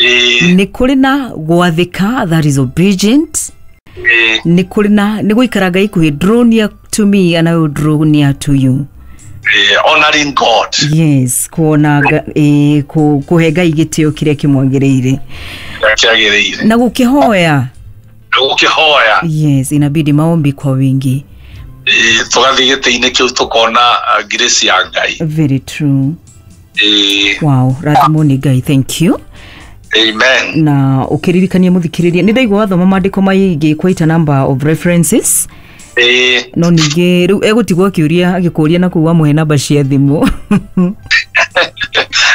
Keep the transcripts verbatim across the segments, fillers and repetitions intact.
Ĩĩ. Nĩ kũrĩ na gwathĩka, that is obedient. Ĩĩ. Nĩ kũrĩ na nĩ gũikara Ngai kuhĩ, draw near to me and I will draw near to you. Ĩĩ, honoring God. Yes, kuona nga- ĩĩ, kũ- kũhe Ngai gĩtĩo kĩrĩa kĩmwagĩrĩire. Kĩrĩa kĩagĩrĩire. Na gũkĩhoya. Na gũkĩhoya. Yes, inabidi maombi kwa wingi. Ĩĩ, tũgathiĩ gĩtĩ-inĩ kĩu tũkona uh, grace ya Ngai. Very true. Ĩĩ. Wow, rathimwo nĩ Ngai, thank you. Amen. Na ũkĩririkania mũthikĩrĩria, nĩ ndaigua wathoma maandĩko maingĩ, quite a number of references. Ĩĩ. No ningĩ rĩu egũtigwo akĩũria, agĩkũria na kũu wamũhe namba cia thimũ.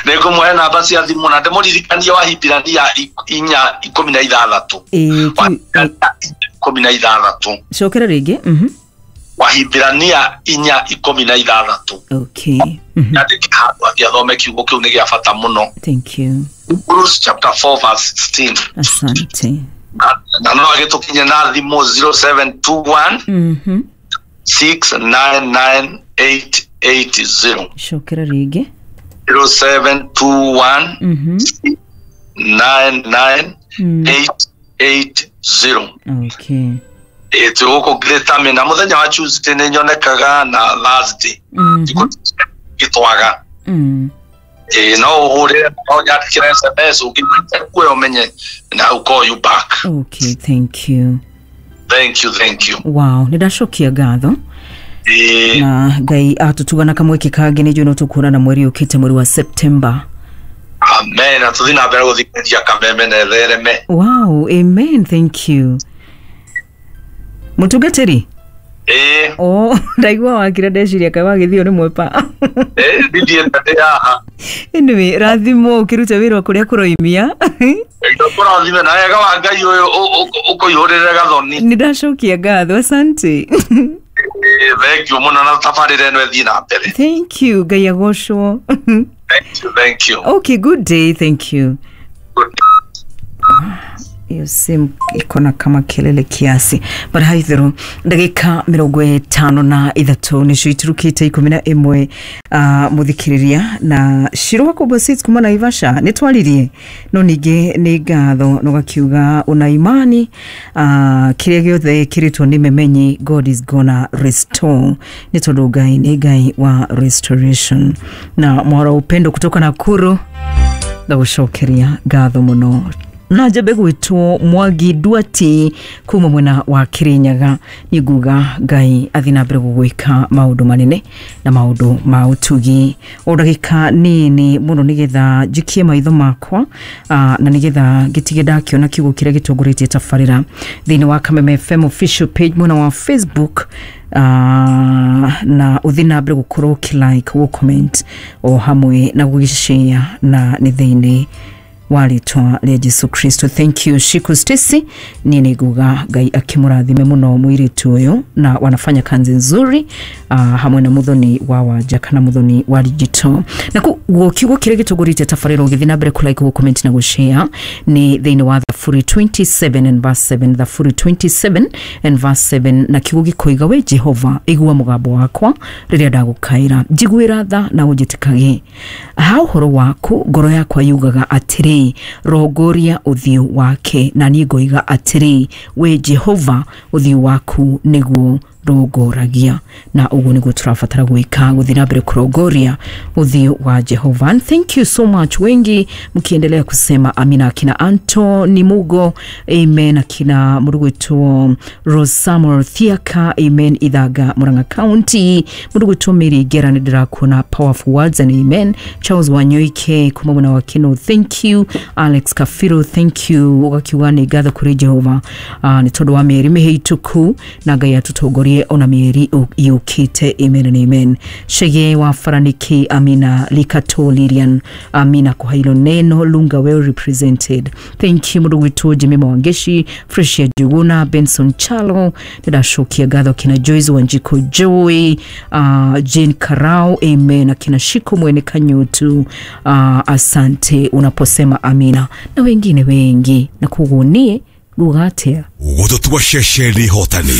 Nĩ ngũmũhe namba cia thimũ na ndĩmũririkanie wa Hibirania inya ikũmi na ithathatũ. Ĩĩ, Wa kiu- ĩ, ikũmi na ithathatũ. Cokera rĩngĩ mhm. Wahibirania inya ikũmi na ithathatũ. Okay mhm. Yandĩke handũ athiĩ athome, kiugo kĩu nĩ gĩa bata mũno. Thank you. Hebrews chapter four verse sixteen. Asante. na na no agĩtũkinye na thimũ zero seven two one mhm. six nine nine eight eight zero. Cokera rĩngĩ. zero seven two one mhm. nine nine Mm. eight eight zero. Okay. Ĩ, twĩ gũkũ Greater na mũthenya wa Tuesday nĩ nyonekaga na Thursday. Mhm. Thikũ gĩtwaga. Mm. Ĩ, no ũhũrĩre, no nyandĩkĩre S M S, ũngĩnyita kuoya ũmenye na I'll call you back. Okay, thank you. Thank you, thank you. Wow, nĩ ndacokia ngatho. Ĩ. Na Ngai atũtugana kamweke kangĩ, nĩ njũĩ no tũkuonana mweri ũkĩte, mweri wa September. Amen, na tũthiĩ na mbere gũthikĩrĩria Kameme na ĩthereme. Wow, amen, thank you, mũtungatĩri. Ĩ. O ndaigua wakira, ndeciria kaĩ wagĩthio nĩ mwepa. Ĩ, ndithiĩte, ndĩ haha. Anyway, rathimwo ũkĩruta wĩra kũrĩa kũroimia. Kũrathime na wega wa Ngai ũyũ ũkũihũrĩre gathoni. Nĩ ndacokia ngatho, asante. Ĩ, thank you mũno, na tabarĩra ĩno ĩthiĩ na mbere. Thank you, Ngai agocwo. Thank you, thank you. Okay, good day, thank you. Good. Hiyo simu iko na kama kelele kiasi, but haithero ndagika mĩrongo ĩtano na ithatũ nĩcio iturukĩte ikũmi na ĩmwe. uh, mũthikĩrĩria na Shiro wa Kubasit kuma Naivasha, nĩ twaririe, no ningĩ nĩ ngatho no gakiuga una imani uh, kĩrĩa gĩothe kĩrĩtwo nĩ memenyi, God is gonna restore, nĩ tondũ Ngai nĩ Ngai wa restoration. Na mwara Upendo kutoka Nakuru, ndagũcokeria ngatho mũno. Na njambe gwĩtwo Mwangi Duati kuma mwena wa Kirinyaga, nĩ nguga Ngai athi na mbere gũgwĩka maũndũ manene na maũndũ ma ũtugi. O ndagĩka nini mũno nĩgetha njikie maitho makwa uh, na nĩgetha ngĩtige ndakĩona kiugo kĩrĩa gĩtongoretie tabarĩra thĩinĩ wa Kameme F M official page mwena wa Facebook, uh, na ũthiĩ na mbere gũkorwo ũkĩ-like, gũ-comment o hamwe na gũgĩshare, na nĩ thĩinĩ wa rĩtwa rĩa Jesu Kristo. Thank you, Shiku Stacy. Niĩ nĩ nguga Ngai akĩmũrathime mũno mũirĩtu ũyũ, na wanafanya kazi nzuri uh, hamwe na Muthoni wa Wanja kana Muthoni wa digital. Na kuguo kiugo kĩrĩa gĩtongoretie tabarĩra, ũgĩthiĩ na mbere kũ-like, gũ-comment na gũ-share, nĩ thĩinĩ wa Thaburi twenty-seven and verse seven, Thaburi twenty-seven and verse seven, na kiugo gĩkoiga, "We Jehova, igua mũgambo wakwa rĩrĩa ndagũkaĩra, njiguĩra tha na ũnjĩtĩkage. Ha ũhoro waku ngoro yakwa yugaga atĩrĩ, rongoria ũthiũ wake, na niĩ ngoiga atĩrĩ, we Jehova, ũthiũ waku nĩguo rongoragia." Na ũguo nĩguo tũrabatara gwĩka, gũthiĩ na mbere kũrongoria ũthiũ wa Jehova. And thank you so much, wengi mkiendelea kusema amina, akina Antony Mugo, amen, akina mũrugwĩtwo Rose Samuel Thiaka, amen, Ithaga, Murang'a County, mũrugwĩtwo Mary Ngera, nĩ ndĩrakuona, powerful words and amen. Charles Wanyoike kuma mwena wa Kino, thank you. Alex Kafiro, thank you. Ũgakiuga nĩ ngatho kũrĩ Jehova uh, nĩ tondũ wa mĩeri mĩhĩtũku, na Ngai atũtongorie ona mĩeri yũkĩte, amen and amen. Shege wa Faraniki, amina. Likato Lilian, amina kwa hilo neno. Lunga well represented, thank you. Mũndũ gwitũ Jimmy Mwangeshi, Freshia Juguna, Benson Chalo, ndĩracokia ngatho. Kina Joyce Wanjiko, Joy, uh, Jane Karau, amen. Akina Shiko Mwene Kanyutu, uh, asante unaposema amina, na wengine wengi. Na koguo niĩ nguga atĩa? Gũtũtua ceceni hotani.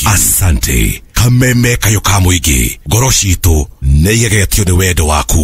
Asante Kameme, kayũ ka mũingĩ, ngoro citũ nĩ igegetio nĩ wendo waku.